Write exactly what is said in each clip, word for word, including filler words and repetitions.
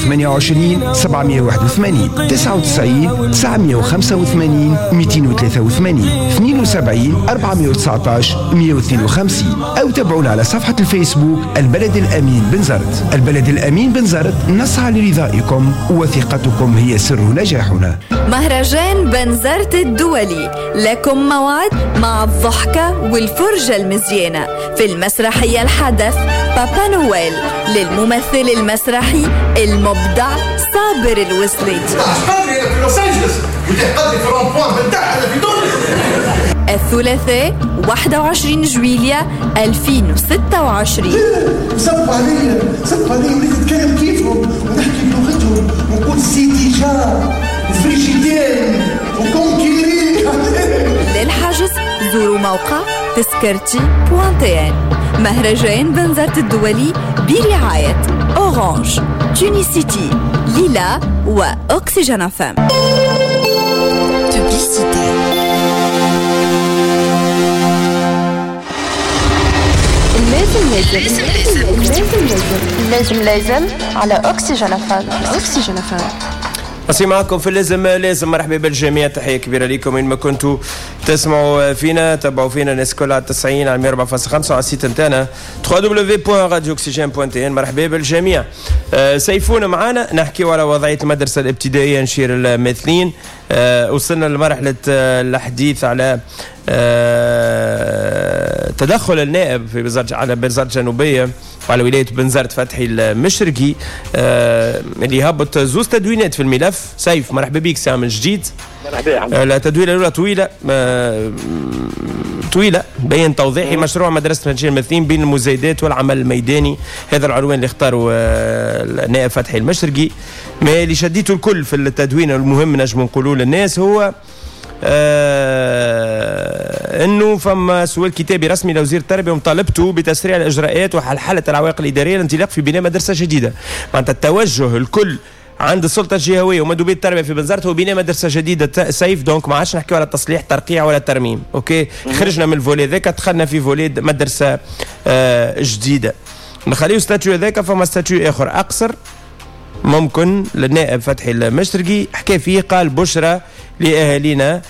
ثمانية وعشرين سبعمية وواحد وثمانين تسعة وتسعين تسعمية وخمسة وثمانين مئتين وثلاثة وثمانين اثنين وسبعين أربعمية وتسعطاش مية واثنين وخمسين، أو تابعونا على صفحة الفيسبوك البلد الأمين بنزرت. البلد الأمين بنزرت، نسعى لرضائكم وثقتكم هي سر نجاحنا. مهرجان بنزرت الدولي لكم موعد مع الضحكة والفرجة المزيانة في المسرحية الحدث بابا نويل للممثل المسرحي المبدع صابر الوسلاتي. قدري في لوس أنجلوس وتقدري في rond-point بتاعنا في تونس. الثلاثاء واحد وعشرين جويلية ألفين وستة وعشرين. صبوا عليا صبوا عليا وليت نتكلم كيفهم ونحكي بلغتهم ونقول سيتي جار و frigidaire و conquérir. للحجز زوروا موقع تذكرتي point tn. مهرجان بنزرت الدولي برعاية أورانج، تونيسيتي، ليلا وأكسجين أف إم. Publicité. لازم لازم لازم لازم لازم على أكسجين أف إم. أكسجين أف إم. أصي معكم في اللازم لازم. مرحبا بالجميع، تحية كبيرة لكم وين ما كنتوا تسمعوا فينا، تبعوا فينا الناس كلها على تسعين على مية وأربعة فاصلة خمسة وعلى ال site نتاعنا دبليو دبليو دبليو دوت راديو أكسجين دوت تي إن. مرحبا بالجميع. أه سيفون معانا نحكيو على وضعية المدرسة الابتدائية نشير الماثلين. أه وصلنا لمرحلة الحديث على أه تدخل النائب في بنزرت على بنزرت الجنوبية وعلى ولاية بنزرت فتحي المشرقي أه اللي هبط زوز تدوينات في الملف. سيف مرحبا بك ساعة من جديد. مرحبا. التدوينة الأولى طويلة أه طويلة بين توضيحي مشروع مدرسة نشير الماثلين بين المزايدات والعمل الميداني. هذا العنوان اللي اختاره النائب فتحي المشرقي. ما اللي شديته الكل في التدوين المهم نجم نقولوه للناس هو آه انه فما سؤال كتابي رسمي لوزير التربية ومطالبته بتسريع الاجراءات وحلحله العوائق الادارية للانطلاق في بناء مدرسه جديدة. معناتها التوجه الكل عند السلطة الجهوية ومندوبيه التربية في بنزرت هو بناء مدرسه جديدة سيف. donc ما عادش نحكيو على تصليح ترقيع ولا ترميم. OK خرجنا من ال volet ذاك دخلنا في volet مدرسه آه جديدة. نخليو statut هذاك، فما statut اخر اقصر ممكن للنائب فتحي المشرقي حكى فيه، قال بشرى لأهالينا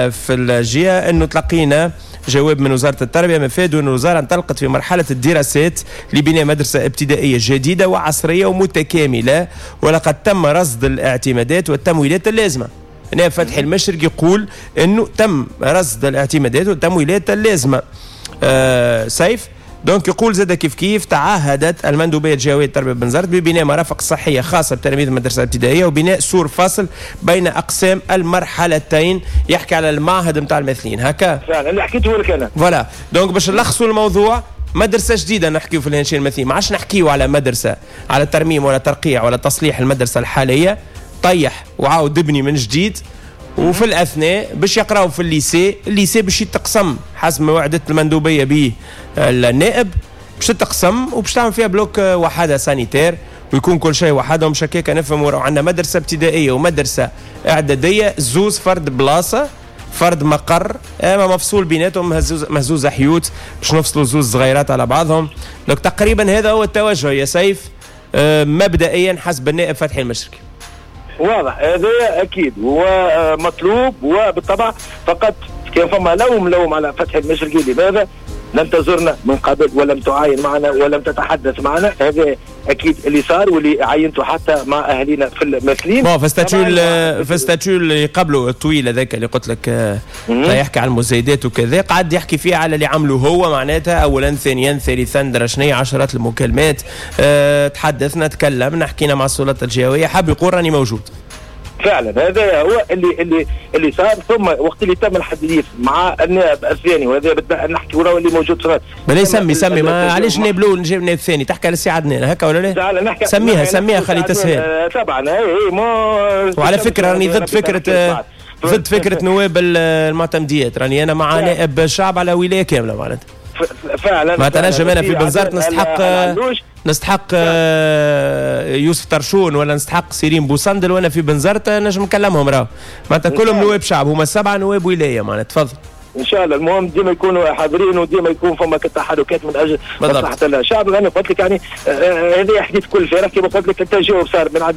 في الجهة أنه تلقينا جواب من وزارة التربية مفاد أن الوزارة انطلقت في مرحلة الدراسات لبناء مدرسة ابتدائية جديدة وعصرية ومتكاملة، ولقد تم رصد الاعتمادات والتمويلات اللازمة. نائب فتحي المشرقي يقول أنه تم رصد الاعتمادات والتمويلات اللازمة. أه سيف donc يقول زاد كيف كيف تعهدت المندوبيه الجهوية للتربية بنزرت ببناء مرافق صحية خاصة بتلاميذ المدرسة الابتدائية وبناء سور فاصل بين اقسام المرحلتين. يحكي على المعهد نتاع الماثلين هكا فعلا اللي حكيته لك انا. voilà donc باش نلخصوا الموضوع، مدرسه جديدة نحكيو في الهنشير الماثلين، ما عادش نحكيو على مدرسه على ترميم ولا ترقيع ولا تصليح المدرسة الحالية، طيح وعاود ابني من جديد. وفي الاثناء باش يقراو في ال lycée، ال lycée باش يتقسم حسب ما وعدت المندوبيه به النائب، باش تتقسم وباش تعمل فيها bloc وحده sanitaire ويكون كل شيء وحدهم. مش هكاك نفهموا عندنا مدرسه ابتدائية ومدرسة اعدادية زوز فرد بلاصة فرد مقر، اما مفصول بيناتهم مهزوز مهزوزة حيوت باش نفصلوا زوز صغيرات على بعضهم. donc تقريبا هذا هو التوجه يا سيف مبدئيا حسب النائب فتحي المشرقي. واضح هذا اكيد ومطلوب، وبالطبع فقط كان فما لوم لوم على فتحي المشرقي لماذا لم تزرنا من قبل ولم تعاين معنا ولم تتحدث معنا. هذا اكيد اللي صار واللي عاينته حتى مع اهالينا في الماثلين. bon في statut في statut اللي قبله الطويل هذاك اللي قلت لك يحكي على المزايدات وكذا، قعد يحكي فيه على اللي عمله هو معناتها اولا ثانيا ثالثا درشني عشرات المكالمات. أه تحدثنا تكلمنا حكينا مع السلطات الجهوية، حاب يقول راني موجود فعلا. هذا هو اللي اللي اللي صار. ثم وقت اللي تم الحديث مع النائب الثاني، وهذا نحكي وراه اللي موجود في بلا سمي سمي ما علاش النائب الاول نجيب النائب الثاني، تحكي على السي عدنان هكا ولا لا؟ سميها سميها خلي تسهل طبعا. اي ما وعلى فكرة راني ضد فكرة ضد فكرة نواب المعتمديات، راني انا مع نائب الشعب على ولاية كاملة معناتها. فعلا معناتها نجم انا في بنزرت نستحق نستحق يوسف ترشون ولا نستحق سيرين بوسندل وانا في بنزرت نجم نكلمهم، راه معناتها كلهم نواب شعب، هما سبعة نواب ولاية معناتها. تفضل. ان شاء الله المهم ديما يكونوا حاضرين وديما يكون فما تحركات من اجل مصلحة الشعب. انا قلت لك يعني هذا حديث كل فرق كما قلت لك التجاوب صار من عند